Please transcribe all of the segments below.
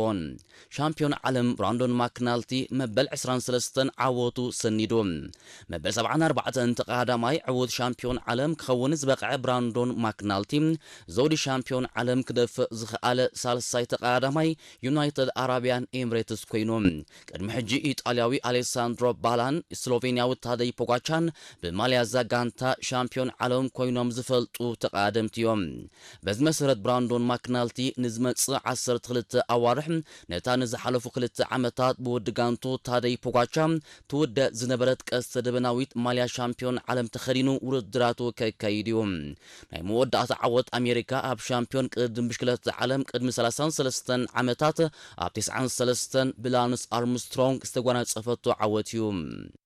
ኦን። ሻምፒዮን ዓለም ብራንዶን ማክናልቲ መበል ዕስራን ሰለስተን ዓወቱ ሰኒዱ። መበል ሰብዓን ኣርባዕተን ተቐዳዳማይ ዕዉት ሻምፒዮን ዓለም ክኸውን ዝበቕዐ ብራንዶን ማክናልቲ፣ ዘውዲ ሻምፒዮን ዓለም ክደፍእ ዝኸኣለ ሳልሳይ ተቐዳዳማይ ዩናይትድ ኣረብያን ኤምሬትስ ኮይኑ። ቅድሚ ሕጂ ኢጣልያዊ ኣሌሳንድሮ ባላን ስሎቬንያዊ ታደይ ፖጋቻን ብማልያ እዛ ጋንታ ሻምፒዮን ዓለም ኮይኖም ዝፈልጡ ተቐዳደምቲ እዮም። በዚ መሰረት ብራንዶን ማክናልቲ ንዝመጽእ ዓሰርተ ክልተ ኣዋርሕ ነታ ንዝሓለፉ ክልተ ዓመታት ብወዲ ጋንቱ ታደይ ፖጋቻ ትውደ ዝነበረት ቀስተ ደበናዊት ማልያ ሻምፒዮን ዓለም ተኸዲኑ ውድድራቱ ከካይድ እዩ። ናይ መወዳእታ ዓወት ኣሜሪካ ኣብ ሻምፒዮን ቅድድም ብሽክለታ ዓለም ቅድሚ ሰላሳን ሰለስተን ዓመታት ኣብ ተስዓን ሰለስተን ብላንስ ኣርምስትሮንግ ዝተጓናጸፈቶ ዓወት እዩ።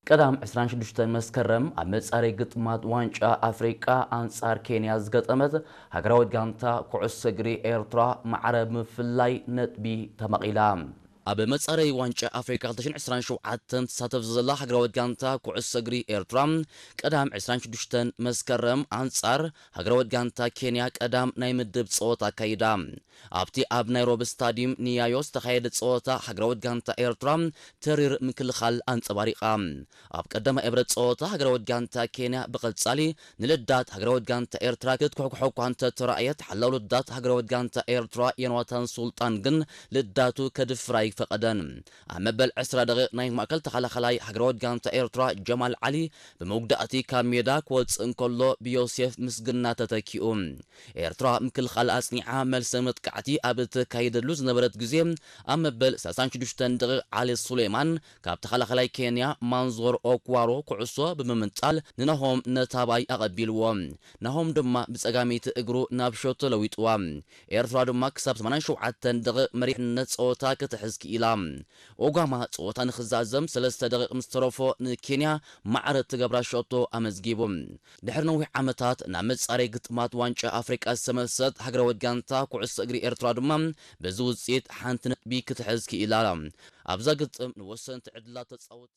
ቀዳም ዕስራን ሽዱሽተን መስከረም ኣብ መጻረይ ግጥማት ዋንጫ ኣፍሪቃ ኣንጻር ኬንያ ዝገጠመት ሃገራዊት ጋንታ ኩዕሶ እግሪ ኤርትራ ማዕረ ብምፍላይ ነጥቢ ተመቒላ። ኣብ መጻረይ ዋንጫ ኣፍሪቃ ክልተ ሽሕን ዕስራን ሸውዓተን ትሳተፍ ዘላ ሃገራዊት ጋንታ ኩዕሶ እግሪ ኤርትራ ቀዳም ዕስራን ሽዱሽተን መስከረም ኣንጻር ሃገራዊት ጋንታ ኬንያ ቀዳም ናይ ምድብ ጸወታ ኣካይዳ። ኣብቲ ኣብ ናይሮቢ ስታዲየም ንያዮ ዝተኻየደ ጸወታ ሃገራዊት ጋንታ ኤርትራ ተሪር ምክልኻል ኣንጸባሪቓ። ኣብ ቀዳማይ እብረት ጸወታ ሃገራዊት ጋንታ ኬንያ ብቐጻሊ ንልዳት ሃገራዊት ጋንታ ኤርትራ ክትኩሕኩሖ እኳ እንተተራእየት፣ ሓላው ልዳት ሃገራዊት ጋንታ ኤርትራ ዮናታን ሱልጣን ግን ልዳቱ ከድፍር ኣይፈቐደን። ኣብ መበል ዕስራ ደቂቕ ናይ ማእከል ተኸላኸላይ ሃገራዊት ጋንታ ኤርትራ ጀማል ዓሊ ብመጉዳእቲ ካብ ሜዳ ክወጽእ እንከሎ ብዮሴፍ ምስግና ተተኪኡ። ኤርትራ ምክልኻል ኣጽኒዓ መልሰ መጥቃዕቲ ኣብ እተካይደሉ ዝነበረት ግዜ ኣብ መበል ሰላሳን ሽዱሽተን ደቂቕ ዓሊ ሱሌማን ካብ ተኸላኸላይ ኬንያ ማንዞር ኦክዋሮ ኩዕሶ ብምምንጣል ንናሆም ነታባይ ኣቐቢልዎ። ናሆም ድማ ብጸጋመይቲ እግሩ ናብ ሸቶ ለዊጥዋ። ኤርትራ ድማ ክሳብ ሰማንያን ሸውዓተን ደቂቕ መሪሕነት ጸወታ ክትሕዝ ክኢላ። ኦጋማ ጸወታ ንኽዛዘም ሰለስተ ደቂቕ ምስ ተረፎ ንኬንያ ማዕረ እትገብራ ሸቶ ኣመዝጊቡ። ድሕሪ ነዊሕ ዓመታት ናብ መጻረይ ግጥማት ዋንጫ ኣፍሪቃ ዝተመልሰት ሃገራዊት ጋንታ ኩዕሶ እግሪ ኤርትራ ድማ በዚ ውጽኢት ሓንቲ ነጥቢ ክትሕዝ ክኢላ። ኣብዛ ግጥም ንወሰንቲ ዕድላት ተጻወቲ